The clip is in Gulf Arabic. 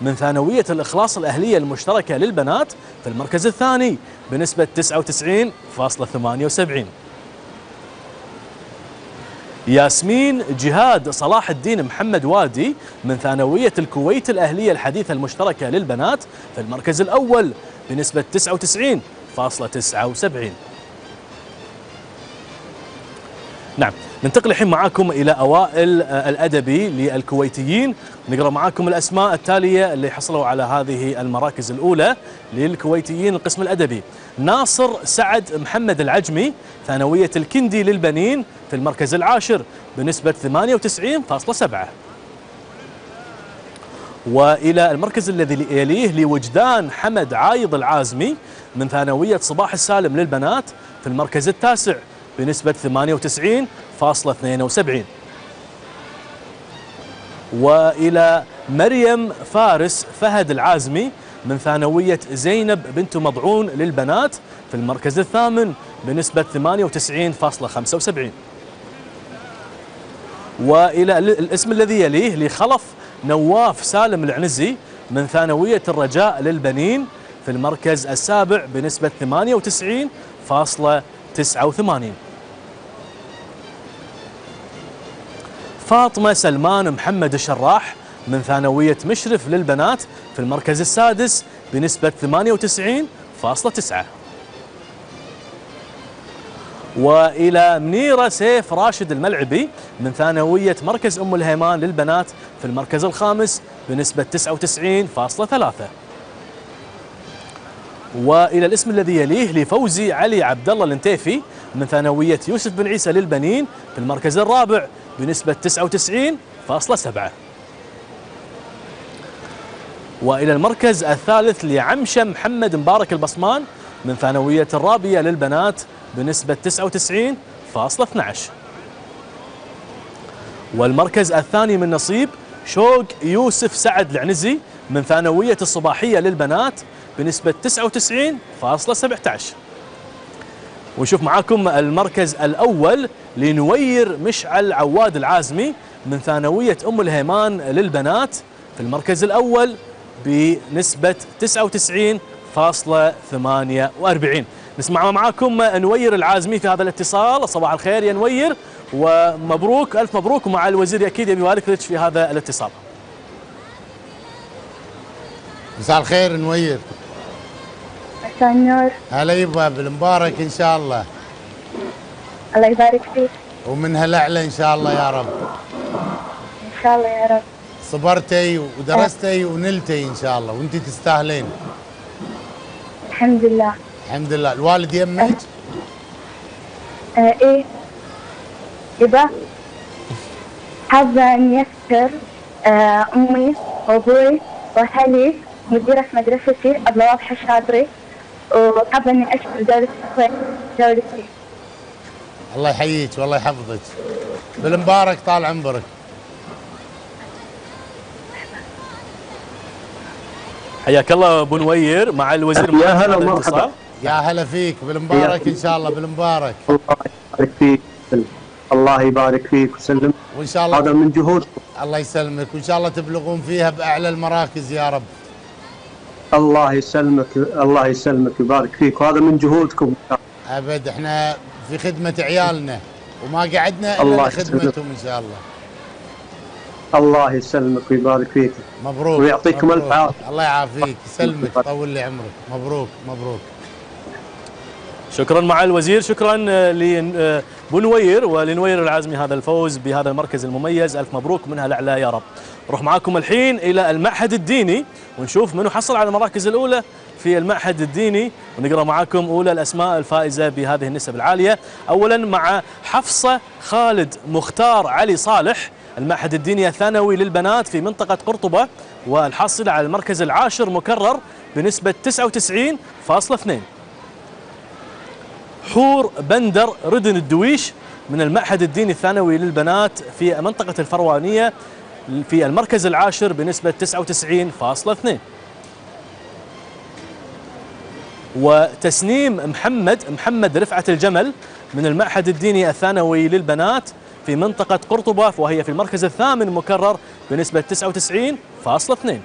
من ثانوية الإخلاص الأهلية المشتركة للبنات في المركز الثاني بنسبة 99.78. ياسمين جهاد صلاح الدين محمد وادي من ثانوية الكويت الأهلية الحديثة المشتركة للبنات في المركز الأول بنسبة 99.79. نعم، ننتقل الحين معاكم إلى أوائل الأدبي للكويتيين. نقرأ معاكم الأسماء التالية اللي حصلوا على هذه المراكز الأولى للكويتيين القسم الأدبي. ناصر سعد محمد العجمي ثانوية الكندي للبنين في المركز العاشر بنسبة 98.7. وإلى المركز الذي يليه لوجدان حمد عايض العازمي من ثانوية صباح السالم للبنات في المركز التاسع بنسبة 98.72. وإلى مريم فارس فهد العازمي من ثانوية زينب بنت مضعون للبنات في المركز الثامن بنسبة 98.75. وإلى الاسم الذي يليه لخلف نواف سالم العنزي من ثانوية الرجاء للبنين في المركز السابع بنسبة 98.89. فاطمة سلمان محمد الشراح من ثانوية مشرف للبنات في المركز السادس بنسبة 98.9. وإلى منيرة سيف راشد الملعبي من ثانوية مركز أم الهيمان للبنات في المركز الخامس بنسبة 99.3. وإلى الاسم الذي يليه لفوزي علي عبد الله الانتيفي من ثانوية يوسف بن عيسى للبنين في المركز الرابع بنسبة 99.7. وإلى المركز الثالث لعمشة محمد مبارك البصمان من ثانوية الرابية للبنات بنسبة 99.12. والمركز الثاني من نصيب شوق يوسف سعد العنزي من ثانوية الصباحية للبنات بنسبة 99.17. ونشوف معاكم المركز الأول لنوير مشعل عواد العازمي من ثانوية أم الهيمان للبنات في المركز الأول بنسبة 99.48. نسمع معاكم نوير العازمي في هذا الاتصال. صباح الخير يا نوير، ومبروك ألف مبروك، ومع الوزير أكيد يبي يبارك لك في هذا الاتصال. مساء الخير نوير. مساء النور. هلا يبا بالمبارك ان شاء الله. الله يبارك فيك. ومن هالأعلى ان شاء الله يا رب. ان شاء الله يا رب. صبرتي ودرستي ونلتي ان شاء الله، وانت تستاهلين. الحمد لله. الحمد لله. الوالد يمك؟ ايه يبا، حابة اني اشكر امي وابوي واهلي، مديرة مدرستي أبلة واضحة الشاطري، وحابة اني اشكر دولة الكويت دولتي. الله يحييك والله يحفظك. بالمبارك طال عمرك. حياك الله ابو نوير مع الوزير. يا هلا ومرحبا. يا هلا فيك، بالمبارك ان شاء الله. بالمبارك. الله يبارك فيك. الله يبارك فيك وسلم. وان شاء الله هذا من جهودكم. الله يسلمك، وان شاء الله تبلغون فيها باعلى المراكز يا رب. الله يسلمك، الله يسلمك ويبارك فيك، وهذا من جهودكم. ابد احنا في خدمة عيالنا وما قعدنا الا لخدمتهم ان شاء الله. الله يسلمك ويبارك فيك. مبروك ويعطيكم الف عافيه. الله يعافيك يسلمك، طول لي عمرك. مبروك مبروك. شكرا مع الوزير، شكرا لابو نوير ولنوير العازمي هذا الفوز بهذا المركز المميز. الف مبروك منها الاعلى يا رب. نروح معاكم الحين الى المعهد الديني ونشوف منو حصل على المراكز الاولى في المعهد الديني، ونقرا معاكم اولى الاسماء الفائزه بهذه النسب العاليه. اولا مع حفصه خالد مختار علي صالح، المعهد الديني الثانوي للبنات في منطقه قرطبه، والحاصله على المركز العاشر مكرر بنسبه 99.2. حور بندر ردن الدويش من المعهد الديني الثانوي للبنات في منطقة الفروانية في المركز العاشر بنسبة 99.2. وتسنيم محمد رفعة الجمل من المعهد الديني الثانوي للبنات في منطقة قرطبة، وهي في المركز الثامن مكرر بنسبة 99.2.